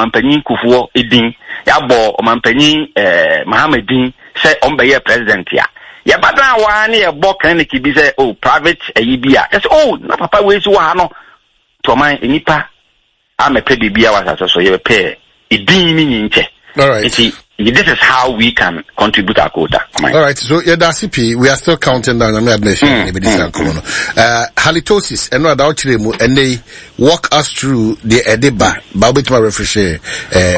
Ɔmampanyin Kufuor din, yɛabɔ Ɔmampanyin Mahama din sɛ ɔmbɛyɛɛ president a, yɛba dan hɔ ara ne yɛbɔ clinic bi sɛ oh private ayi bi a, yɛsɛ oh na papa wei so wɔ ha no. Nti ɔman nnipa amɛpɛ biribiara wɔ asase so, yɛbɛpɛ edin ne nyinkyɛ. All right. Nti this is how we can contribute our quota. All right, so yeah, that's it. We are still counting down. I mean, admission. Mm. Halitosis, and no, and walk us through the ediba. But wait, my refresh.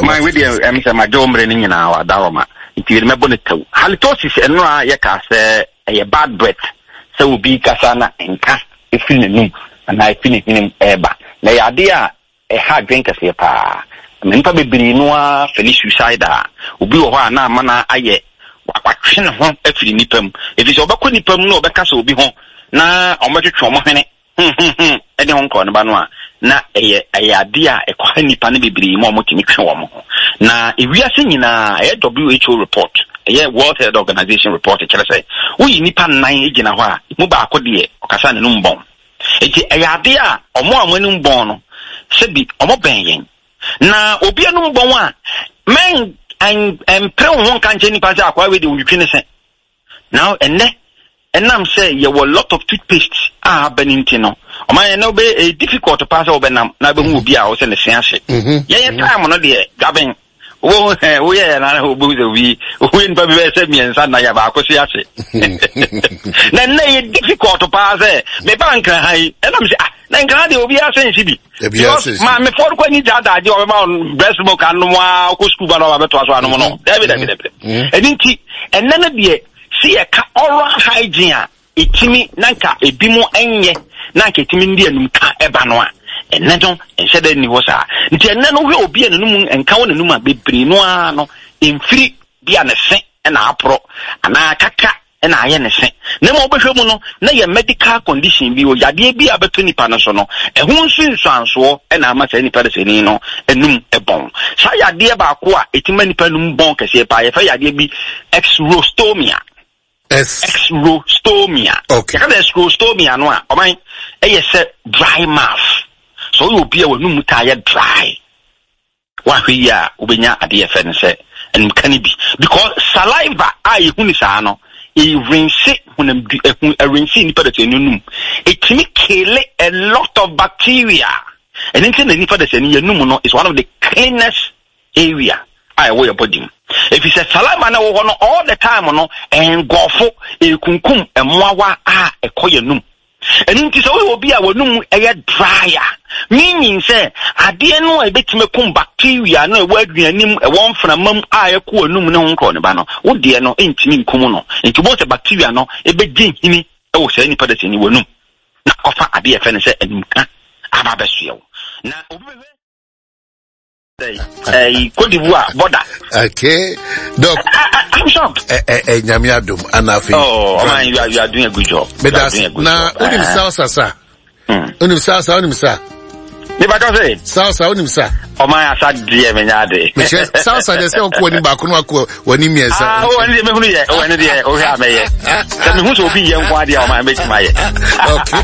My with the I'm saying my job running in our daroma. Nti yɛde mɛbɔ ne tɛw. Halitosis ɛno a yɛka sɛ ɛyɛ bad breath sɛ obi kasa na nka efiri n'anum anaa efiri ne hwenem ɛɛba, na ɛyɛ adeɛ a ɛha adwene kɛseɛ paa ma nnipa bebree no ara feel suicidal. Obi wɔ hɔ a na ama no ayɛ watwe ne ho afiri nnipa mu, ɛfiri sɛ ɔbɛkɔ nnipa mu na ɔbɛkasa obi ho na ɔmɛtwetwe ɔmo hwene ɛde ho nkɔɔ ne ba no a, na ɛyɛ adeɛ a ɛkɔha nnipa no bebree ma ɔmo tumi twe wɔn ho. Na ewiase nyinaa, ɛyɛ WHO report, ɛyɛ World Health Organization report, kyerɛ sɛ woyi nnipa nnan gyina hɔ a, mu baako deɛ ɔkasa n'anum bɔn. Eti ɛyɛ adeɛ a ɔmo a ɔmo anim bɔn no, sɛbi ɔmo bɛn yɛn na obi anum bɔn a, mɛn ɛmpere wo ho nka nkyɛn nipa sɛ akɔa wei de otwitwi ne se. Now ɛnɛ, ɛnam sɛ yɛwɔ lot of toothpaste a aba ne nti no, ɔman yɛn na wobɛ ɛyɛ difficult paa sɛ wobɛnam na wobɛhu obi a ɔsɛ ne se ahye. Yɛyɛ time no deɛ, gaben wo woyɛ yɛ na wobɛhu sɛ obi woyɛ nipa bi bɛyɛ sɛ mmiɛnsa na yɛ baako se ahye. Na nnɛ yɛ difficult paa sɛ meba Nkra ha yi, ɛnam sɛ ah, na Nkra ha deɛ obiara sɛ nhye bi, because maamefoɔ no kɔ ani gya adagye ɔbɛma wɔn breast milk anom a, ɔkɔ sukuu ba na ɔba bɛtoa so anom no. Dabi, dabi, dabi. Ɛno nti ɛnɛ no deɛ, sɛ yɛka oral hygiene a, ɛtumi na nka ebi mo nyɛ na nka ɛtumi ndi anum ka ɛba no a, ɛnɛ no nhyɛ dɛ nni hɔ saa. Nti ɛnɛ no, wohwɛ obi a n'anum nka wɔ n'anum a, bebree no ara no mfiri bi a ne se na aporɔ anaa kaka na ayɛ ne se, na mmom wobɛhwɛ mu no na yɛ medical condition bi o, yadeɛ bi a bɛtɔ nipa no so no, ɛho nsunsuansoɔ na ama saa nipa dasani no anum bɔn. Saa yadeɛ baako a ɛtumi ma nipa anum bɔn kɛseɛ paa, yɛfrɛ yadeɛ bi xerostomia. Xerostomia. Yɛka sɛ xerostomia no a, ɔman ɛyɛ sɛ dry mouth. Sɛ woyɛ obi a w'anum taa yɛ dry, woahwɛ yi a, wobɛnya adeɛ yɛfrɛ no sɛ animka no bi, because saliva a yɛhu ne saa no, ɛrinse honamdu ɛhu, ɛrinse nipa dasani no num, ɛtumi kill a lot of bacteria. Ɛno nti na nipa dasani yɛnum no is one of the cleanest area a ɛwɔ yɛ body mu, ɛfiri sɛ saliva no ɛwɔ hɔ no all the time no, ɛngɔfo ɛkunkum mmoawa a ɛkɔ yɛnum. Ɛno nti sɛ woyɛ obi a w'anum ɛyɛ dry a, meaning sɛ adeɛ no a ɛbɛtumi akum bacteria no a ɛwɔ aduane mu, ɛwɔ mframa mu a ɛkɔ w'anum ne ho nkorɔ ne ba no, wo deɛ no ntumi nkum no. Nti wobɛhu sɛ bacteria no ɛbɛgye nhini ɛwɔ saa nipa dasani w'anum na akɔfa adeɛ yɛfrɛ no sɛ anumka aba abɛsoɛ wo. Na obi bɛhwɛ Cote d'Ivoire border. Okay, Doc. I'm shocked. Eh, Nyame adom ana afei. Oh, man, you are doing a good job. You are doing a good na, job. Na unim salsa sa? Unim salsa, unim sa? Nipa ka sɛ. Salsa, unim sa? Ɔman asa deɛ menya ade. Mehyɛ salsa deɛ sɛ ɔkɔ w'anim baako na wakɔ w'anim mmiɛnsa. Ah, ɔwɔ ne deɛ mehunu yɛ, ɔwɔ ne deɛ ɔhwɛ a mɛyɛ. Sɛ mehu sɛ obi yɛ nko adeɛ a, ɔman mɛtumi ayɛ. Okay.